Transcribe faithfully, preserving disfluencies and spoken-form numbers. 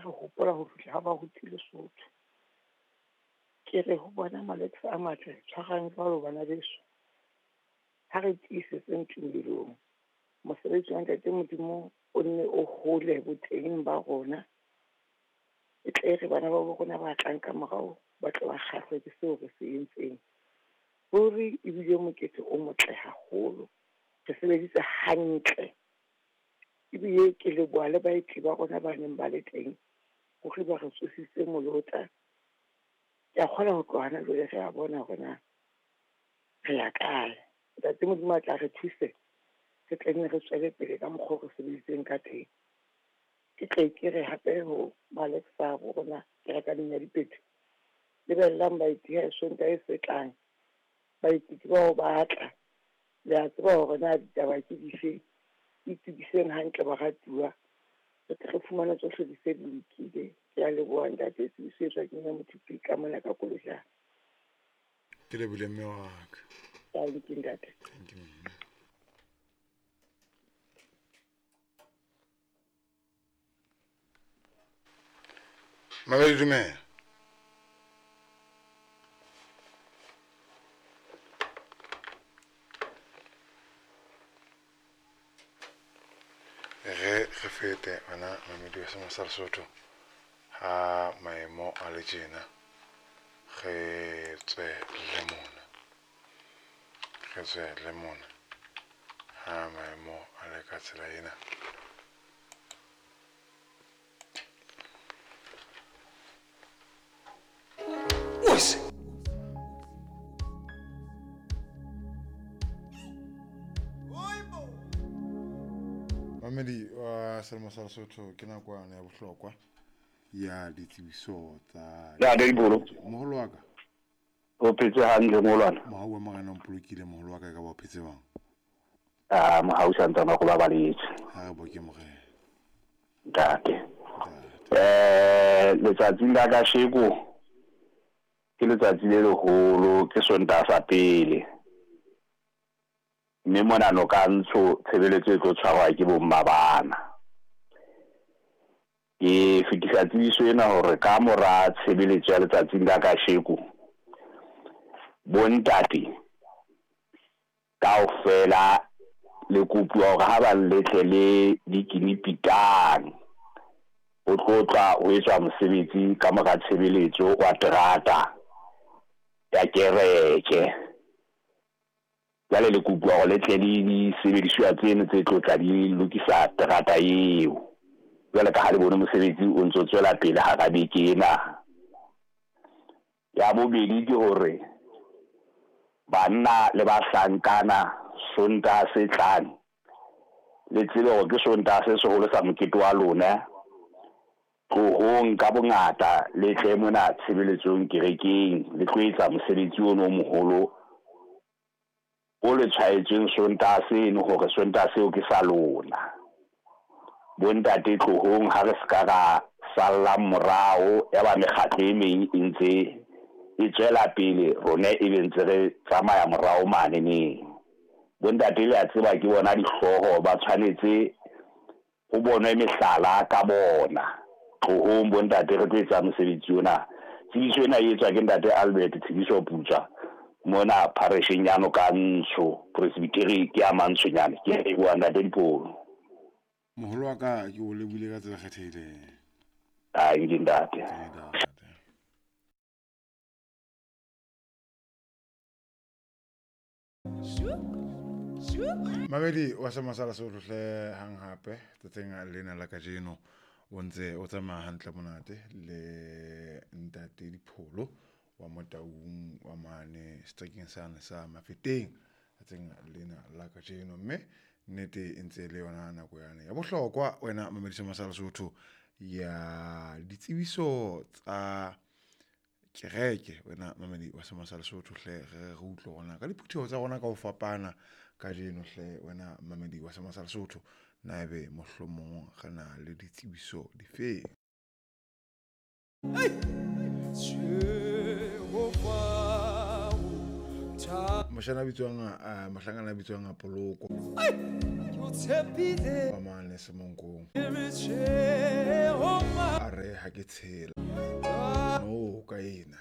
re hopola ho fihla ha baruti Lesotho. Ke re ho bona malekse a matle, tshwarang jwalo bana beso. Ha re tiisetseng tumelong. Mosebetsi wa Ntate Modimo o nne o hole boteng ba rona. E tle re bana ba bo rona ba tlang ka morao ba tle ba kgahlwe ke seo re se entseng. Ruri ebile mokete o motle haholo. Re sebeditse hantle. Ebile ke leboha le baeti ba rona ba neng ba le teng hore ba re tsositse molota. Ke a kgona ho tloha hona jwale re a bona hore na re ya kae. Ntate Modimo a tla re thuse, re tle nne re tswele pele ka mokgwa o re sebeditseng ka teng. Ke tle ke re hape ho Maleksa bo rona kerekaneng ya Dipethu, lebellang baeti ha Sontaha se tlang. Baeti ke bao ba tla. Le a tseba hore na ditaba ke dife. Itokiseng hantle baratuwa. Re tle re fumane tsohle di se di lokile. Ke a leboha ntate, tsebiso e tswa ke Mme Mothupi ka mona ka Kolojana. Ke lebohile mme wa ka. Thank you ntate. Thank you mme. Mabedi dumela. Re re fete wena mamedi wa Sema sa Lesotho ha maemo a le tjena re tswe le mona, re tswe le mona ha maemo a le ka tsela ena. Mamedi wa Selemo sa Lesotho ke nakwana ya bohlokwa ya ditsebiso tsa Ya Dibolo. Moholo wa ka. O phetse hantle moholwana. Mohau wa Morena o mpolokile moholo wa ka, e ka ba o phetse jwang? Ah, mohau santsana go babaletse. Ha re boke Morena. Ntate. Eh, letsatsi la kasheko ke letsatsi le leholo, ke Sontaha sa pele. Mme mona noka ntsho tshebeletso e tlo tshwarwa ke bomma bana. Ke fetisa tsebiso ena hore ka mora tshebeletso ya letsatsing la kasheko, bontate kaofela le kopuwa hore ha ba letle le dikinipitang ho tlo tla ho etswa mosebetsi ka mora tshebeletso wa terata ya kereke. Jwale le kopuwa hore le tle le disebediswa tseno tse tlo tla di lokisa terata eo. Jwale ka ha le bone mosebetsi o ntso tswela pele hara beke ena. Ya bobedi ke hore banna le bahlankana Sontaha se tlang le tsebe hore ke Sontaha se seholo sa mokete wa lona. Tlohong ka bongata le tle mona tshebeletsong kerekeng, le tlo etsa mosebetsi ono o moholo o le tshwaetsweng Sontaha seno hore Sontaha seo ke sa lona. Bontate tlohong ha re ska ra sallang morao ya ba mekgatlo e meng e ntse e tswela pele, rona e be ntse re tsamaya morao mane neng. Bontate le a tseba ke bona dihlooho, ba tshwanetse ho bonwe mehlala ka bona. Tlohong bontate re tlo etsa mosebetsi ona. Tsebiso ena e etswa ke ntate Albert Tsebiso Putswa mona parisheng ya Nokantsho, presbytery ke ya Mantshonyane. Ke a leboha ntate Dipolo. Moholo wa ka ke o lebohile ka tsela e kgethehileng. Ai, ke ntate. Ke ntate. Mamedi wa Sema sa Lesotho hle hang hape tsatsing lena la kajeno o ntse o tsamaya hantle monate le ntate Dipholo wa Motaung wa mane seterekeng sane sa Mafeteng tsatsing lena la kajeno, mme nnete e ntse le yona nako yane ya bohlokwa wena mamedi Sema sa Lesotho ya ditsebiso tsa kereke. Wena mamedi wa Sema sa Lesotho hle re re utlwe rona ka diphutheho tsa rona ka ho fapana kajeno hle wena mamedi wa Sema sa Lesotho, na ebe mohlomong re na le ditsebiso difeng? Moshana a bitswang uh, mohlankana a bitswang a Poloko Ke o tshepile wa mane Semonkong. Ke re tjhe, oh ma- A re ha ke tshela. No ka ena.